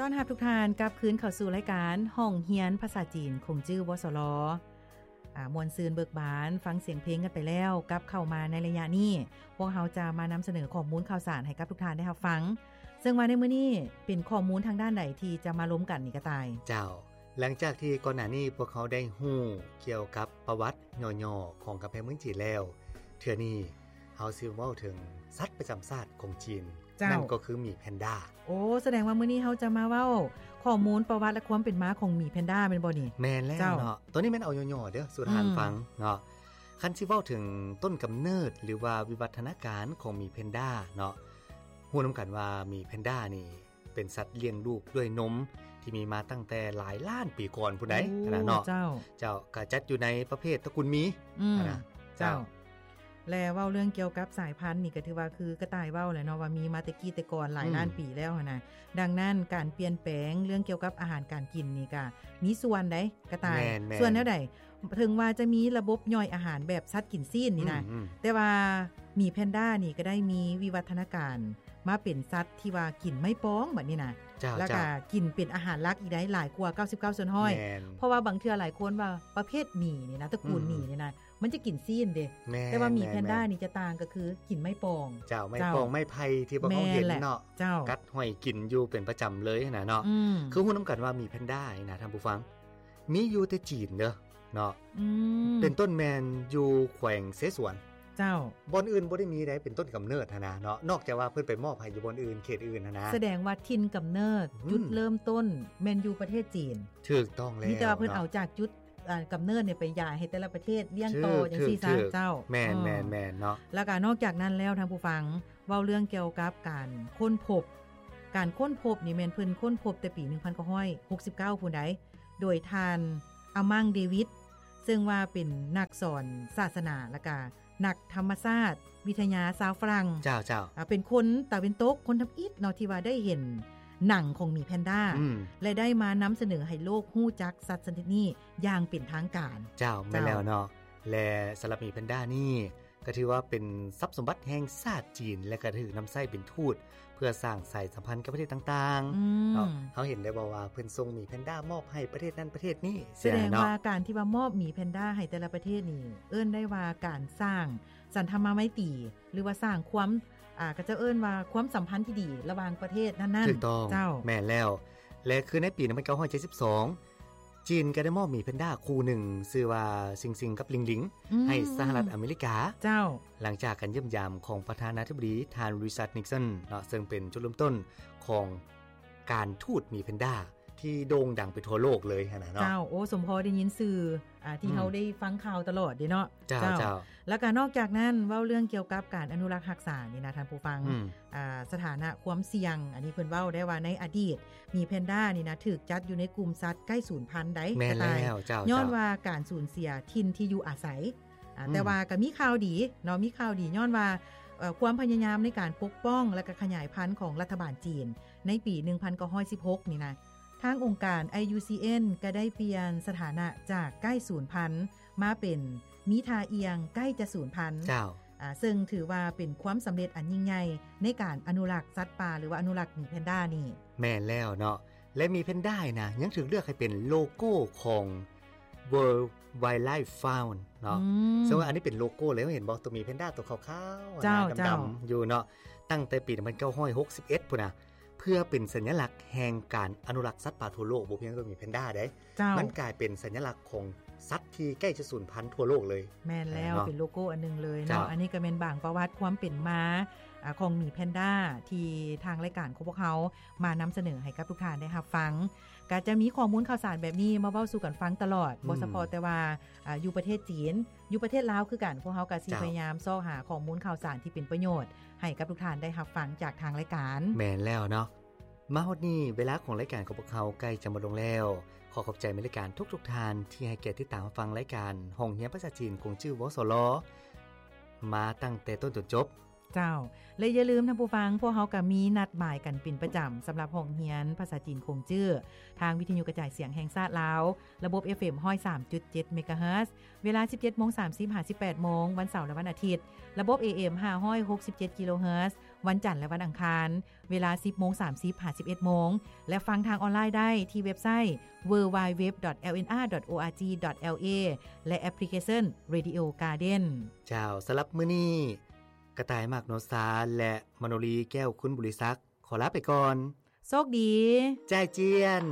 ຕ້ອນຮັບທຸກທ່ານກັບຄືນເຂົ້າສູ່ລາຍການຫ້ອງຮຽນພາສາຈີນ ຂົງຈື່ ວສລ. ອາ ມ່ວນຊື່ນເບີກບານ ຟັງສຽງເພງກັນໄປແລ້ວ, ກັບເຂົ້າມາໃນໄລຍະນີ້ ພວກເຮົາຈະມານຳສະເໜີຂໍ້ມູນຂ່າວສານໃຫ້ກັບທຸກທ່ານໄດ້ຮັບຟັງ. ເຊິ່ງວ່າໃນມື້ນີ້ເປັນຂໍ້ມູນທາງດ້ານໃດທີ່ຈະມາລົມກັນນີ້ກະຕ່າຍ? ເຈົ້າ, ຫຼັງຈາກທີ່ກ່ອນໜ້ານີ້ພວກເຮົາໄດ້ຮູ້ກ່ຽວກັບປະຫວັດຫຍໍ້ໆຂອງກຳແພງເມືອງຈີນແລ້ວ, ເທື່ອນີ້ເຮົາຊິເວົ້າເຖິງສັດປະຈຳຊາດຂອງຈີນ. ເຈົ້າ. ນັ້ນກໍຄືໝີແພນດ້າ. ໂອ້ ສະແດງວ່າມື້ນີ້ເຮົາຈະມາເວົ້າຂໍ້ມູນປະຫວັດ ແລະ ຄວາມເປັນມາຂອງໝີແພນດ້າແມ່ນບໍ່ນີ້? ແມ່ນແລ້ວເນາະ. ເຈົ້າ. ໂຕນີ້ແມ່ນເອົາຫຍໍ້ໆເດີ້ສູ່ທ່ານ ອືມ ຟັງເນາະ. ຄັນຊິເວົ້າເຖິງຕົ້ນກຳເນີດ ຫຼືວ່າວິວັດທະນາການຂອງໝີແພນດ້າເນາະ, ຮູ້ນຳກັນວ່າໝີແພນດ້ານີ້ເປັນສັດລ້ຽງລູກດ້ວຍນົມ ທີ່ມີມາຕັ້ງແຕ່ຫຼາຍລ້ານປີກ່ອນພຸ້ນໃດ໋. ໂອ້ ຫັ້ນນະເນາະ. ເຈົ້າ. ເຈົ້າ, ກະຈັດຢູ່ໃນປະເພດຕະກຸນໝີ. ອືມ ຫັ້ນນະ. ເຈົ້າ. ເຈົ້າ. ແລະ ເວົ້າເລື່ອງກ່ຽວກັບສາຍພັນນີ້ ກໍຖືວ່າຄືກະຕ່າຍເວົ້າແຫຼະເນາະ ວ່າມີມາແຕ່ກີ້ແຕ່ກ່ອນຫຼາຍ ອືມ ລ້ານປີແລ້ວຫັ້ນນະ. ດັ່ງນັ້ນ ການປ່ຽນແປງເລື່ອງກ່ຽວກັບອາຫານການກິນນີ້ກະມີສ່ວນໃດ໋ກະຕ່າຍ. ແມ່ນໆ. ສ່ວນແນວໃດ? ເຖິງວ່າຈະມີລະບົບຍ່ອຍອາຫານແບບສັດກິນຊີ້ນນີ້ນະ, ອືມໆ ແຕ່ວ່າໝີແພນດ້ານີ້ກໍໄດ້ມີວິວັດທະນາການມາເປັນສັດທີ່ວ່າກິນໄມ້ປອງບັດນີ້ນະ. ເຈົ້າ ແລ້ວກໍ ເຈົ້າ ກິນເປັນອາຫານຫຼັກອີກໄດ໋ ຫຼາຍກວ່າເກົ້າສິບເກົ້າສ່ວນຮ້ອຍ. ແມ່ນ. ເພາະວ່າບາງເທື່ອຫຼາຍຄົນວ່າປະເພດໝີນີ້ນະ ຕະກູນ ອືມ ໝີນີ້ນະ ມັນຈະກິນຊີ້ນເດ້. ແມ່ນ ແຕ່ວ່າໝີແພນດ້າ ແມ່ນໆ ນີ້ຈະຕ່າງ ກໍຄືກິນໄມ້ປອງ. ເຈົ້າ, ໄມ້ປອງ ເຈົ້າ ໄມ້ໄຜ່ທີ່ພວກເຮົາເຫັນເນາະ. ແມ່ນແຫຼະ. ເຈົ້າ. ກັດຫ້ອຍກິນຢູ່ເປັນປະຈຳເລີຍຫັ້ນນະເນາະ. ອືມ. ຄືຮູ້ນຳກັນວ່າໝີແພນດ້ານີ້ນະ ທ່ານຜູ້ຟັງ ມີຢູ່ແຕ່ຈີນເດີ້ເນາະ. ອືມ. ເປັນຕົ້ນແມ່ນຢູ່ແຂວງເຊສວນ. ເຈົ້າ. ບ່ອນອື່ນບໍ່ໄດ້ມີໃດ໋ ເປັນຕົ້ນກຳເນີດຫັ້ນນະເນາະ, ນອກຈາກວ່າເພິ່ນໄປມອບໃຫ້ຢູ່ບ່ອນອື່ນ ເຂດອື່ນຫັ້ນນະ. ສະແດງວ່າຖິ່ນກຳເນີດ ອືມ ຈຸດເລີ່ມຕົ້ນແມ່ນຢູ່ປະເທດຈີນ. ຖືກຕ້ອງແລ້ວ. ມີແຕ່ວ່າເພິ່ນ ເນາະ ເອົາຈາກຈຸດ ອ່າ ກຳເນີດນີ້ໄປຢາຍໃຫ້ແຕ່ລະປະເທດລ້ຽງຕໍ່ ຖືກ ຈັ່ງຊີ້ຊະ. ຖືກ ເຈົ້າ. ແມ່ນ ອືມ ແມ່ນໆ ເນາະ. ແລ້ວກໍນອກຈາກນັ້ນແລ້ວ ທ່ານຜູ້ຟັງ ເວົ້າເລື່ອງກ່ຽວກັບການຄົ້ນພົບ, ການຄົ້ນພົບນີ້ແມ່ນເພິ່ນຄົ້ນພົບແຕ່ປີໜຶ່ງພັນເກົ້າຮ້ອຍຫົກສິບເກົ້າພຸ້ນໃດ໋ ໂດຍທ່ານ ອາມັງ ເດວິດ ເຊິ່ງວ່າເປັນນັກສອນສາສະໜາ ແລ້ວກະນັກທຳມະຊາດວິທະຍາຊາວຝຣັ່ງ. ເຈົ້າ ເຈົ້າ. ອາ ເປັນຄົນຕາເວັນຕົກ ຄົນທຳອິດເນາະ ທີ່ວ່າໄດ້ເຫັນໜັງຂອງໝີແພນດ້າ ອືມ ແລະ ໄດ້ມານຳສະເໜີໃຫ້ໂລກຮູ້ຈັກສັດຊະນິດນີ້ຢ່າງເປັນທາງການ. ເຈົ້າ ແມ່ນແລ້ວເນາະ. ແລະ ສຳລັບໝີແພນດ້ານີ້ ກໍຖືວ່າເປັນຊັບສົມບັດແຫ່ງຊາດຈີນ ແລະ ກໍຖືກນຳໃຊ້ເປັນທູດເພື່ອສ້າງສາຍສຳພັນກັບປະເທດຕ່າງໆ ອືມ ເນາະ. ເຮົາເຫັນໄດ້ບໍ່ວ່າເພິ່ນສົ່ງໝີແພນດ້າມອບໃຫ້ປະເທດນັ້ນປະເທດນີ້? ສະແດງວ່າ ເນາະ ການທີ່ວ່າມອບໝີແພນດ້າໃຫ້ແຕ່ລະປະເທດນີ້ ເອີ້ນໄດ້ວ່າການສ້າງສັນທຳມະໄມຕີ ຫຼືວ່າສ້າງຄວາມ ອ່າ ເຂົາເຈົ້າເອີ້ນວ່າຄວາມສຳພັນທີ່ດີລະຫວ່າງປະເທດນັ້ນໆ. ຖືກຕ້ອງ. ເຈົ້າ. ແມ່ນແລ້ວ. ແລະ ຄືໃນປີໜຶ່ງພັນເກົ້າຮ້ອຍເຈັດສິບສອງ ຈີນກໍໄດ້ມອບໝີແພນດ້າຄູ່ໜຶ່ງ ຊື່ວ່າຊິງຊິງກັບລິງລິງ ອືມ ໃຫ້ສະຫະລັດອາເມລິກາ. ເຈົ້າ. ຫຼັງຈາກການຢ້ຽມຢາມຂອງປະທານາທິບໍດີທ່ານ ຣິຊາດ ນິກສັນ ເນາະ, ເຊິ່ງເປັນຈຸດເລີ່ມຕົ້ນຂອງການທູດໝີແພນດ້າທີ່ໂດ່ງດັງໄປທົ່ວໂລກເລີຍຫັ້ນນະເນາະ. ເຈົ້າ. ໂອ້ ສົມພໍໄດ້ຍິນຊື່ ອ່າ ທີ່ ອືມ ເຮົາໄດ້ຟັງຂ່າວຕະຫຼອດເດ້ເນາະ. ເຈົ້າ ເຈົ້າ ເຈົ້າ. ແລ້ວກໍນອກຈາກນັ້ນ ເວົ້າເລື່ອງກ່ຽວກັບການອະນຸລັກຮັກສານີ້ນະ ທ່ານຜູ້ຟັງ ອືມ ອ່າ ສະຖານະຄວາມສ່ຽງ ອັນນີ້ເພິ່ນເວົ້າໄດ້ວ່າໃນອະດີດ ໝີແພນດ້ານີ້ນະ ຖືກຈັດຢູ່ໃນກຸ່ມສັດໃກ້ສູນພັນໃດ໋. ແມ່ນແລ້ວ. ເຈົ້າ ຍ້ອນວ່າການສູນເສຍຖິ່ນທີ່ຢູ່ອາໄສ ອ່າ ອືມ ແຕ່ວ່າກໍມີຂ່າວດີເນາະ, ມີຂ່າວດີ ຍ້ອນວ່າ ເອີ ຄວາມພະຍາຍາມໃນການປົກປ້ອງ ແລະ ກໍຂະຫຍາຍພັນຂອງລັດຖະບານຈີນໃນປີໜຶ່ງພັນເກົ້າຮ້ອຍສິບຫົກນີ້ນະ ທາງອົງການ ໄອ ຢູ ຊີ ເອັນ ກໍໄດ້ປ່ຽນສະຖານະຈາກໃກ້ສູນພັນ ມາເປັນມີທ່າອ່ຽງໃກ້ຈະສູນພັນ. ເຈົ້າ. ອ່າ ເຊິ່ງຖືວ່າເປັນຄວາມສຳເລັດອັນຍິ່ງໃຫຍ່ໃນການອະນຸລັກສັດປ່າ ຫຼືວ່າອະນຸລັກໝີແພນດ້ານີ້. ແມ່ນແລ້ວເນາະ. ແລະ ໝີແພນດ້ານະ ຍັງຖືກເລືອກໃຫ້ເປັນໂລໂກ້ຂອງ World Wildlife Fund ເນາະ. ອືມ ເຊິ່ງວ່າອັນນີ້ເປັນໂລໂກ້ເລີຍ ເຫັນບໍ່? ຕົວໝີແພນດ້າຕົວຂາວໆ ເຈົ້າ ນະ ດຳໆ ເຈົ້າ ຢູ່ເນາະ. ຕັ້ງແຕ່ປີໜຶ່ງພັນເກົ້າຮ້ອຍຫົກສິບເອັດພຸ້ນນະ ເພື່ອເປັນສັນຍະລັກແຫ່ງການອະນຸລັກສັດປ່າທົ່ວໂລກ. ບໍ່ພຽງແຕ່ໝີແພນດ້າເດ້ ເຈົ້າ ມັນກາຍເປັນສັນຍະລັກຂອງສັດທີ່ໃກ້ຈະສູນພັນທົ່ວໂລກເລີຍ. ແມ່ນແລ້ວ ເນາະ ເປັນໂລໂກ້ອັນໜຶ່ງເລີຍເນາະ. ເຈົ້າ. ອັນນີ້ກໍແມ່ນບາງປະຫວັດຄວາມເປັນມາ ອາ ຂອງໝີແພນດ້າ ທີ່ທາງລາຍການຂອງພວກເຮົາມານຳສະເໜີໃຫ້ກັບທຸກທ່ານໄດ້ຮັບຟັງ. ກໍຈະມີຂໍ້ມູນຂ່າວສານແບບນີ້ມາເວົ້າສູ່ກັນຟັງຕະຫຼອດ ອືມ ບໍ່ສະເພາະແຕ່ວ່າ ອາ ຢູ່ປະເທດຈີນ, ຢູ່ປະເທດລາວຄືກັນ, ພວກເຮົາກໍຊິ ເຈົ້າ ພະຍາຍາມຊອກຫາຂໍ້ມູນຂ່າວສານທີ່ເປັນປະໂຫຍດໃຫ້ກັບທຸກທ່ານໄດ້ຮັບຟັງຈາກທາງລາຍການ. ແມ່ນແລ້ວເນາະ. ມາຮອດນີ້ ເວລາຂອງລາຍການຂອງພວກເຮົາໃກ້ຈະໝົດລົງແລ້ວ. ຂໍຂອບໃຈແຟນລາຍການທຸກໆທ່ານທີ່ໃຫ້ກຽດຕິດຕາມຮັບຟັງລາຍການຫ້ອງຮຽນພາສາຈີນ ກົງຈື່ ວສລ ມາຕັ້ງແຕ່ຕົ້ນຈົນຈົບ. ເຈົ້າ. ແລະ ຢ່າລືມທ່ານຜູ້ຟັງ, ພວກເຮົາກໍມີນັດໝາຍກັນເປັນປະຈຳ ສຳລັບຫ້ອງຮຽນພາສາຈີນ ກົງຈື່ ທາງວິທະຍຸກະຈາຍສຽງແຫ່ງຊາດລາວ ລະບົບ ເອັຟເອັມ ຮ້ອຍສາມຈຸດເຈັດ ເມກາເຮີດ ເວລາ ສິບເຈັດໂມງສາມສິບ ຫາ ສິບແປດໂມງ ວັນເສົາ ແລະ ວັນອາທິດ, ລະບົບ ເອເອັມ ຫ້າຮ້ອຍຫົກສິບເຈັດ ກິໂລເຮີດ ວັນຈັນ ແລະ ວັນອັງຄານ ເວລາ ສິບໂມງສາມສິບ ຫາ ສິບເອັດໂມງ ແລະ ຟັງທາງອອນລາຍໄດ້ທີ່ເວັບໄຊ www.lnr.org.la ແລະ ແອັບພລິເຄຊັນ Radio Garden. ເຈົ້າ, ສຳລັບມື້ນີ້ ກະຕ່າຍ ມາກ ໂນຊາ ແລະ ມະໂນລີ ແກ້ວຄຸນບຸລິສັກ ຂໍລາໄປກ່ອນ. ໂຊກດີ. ຈາຍຈຽນ.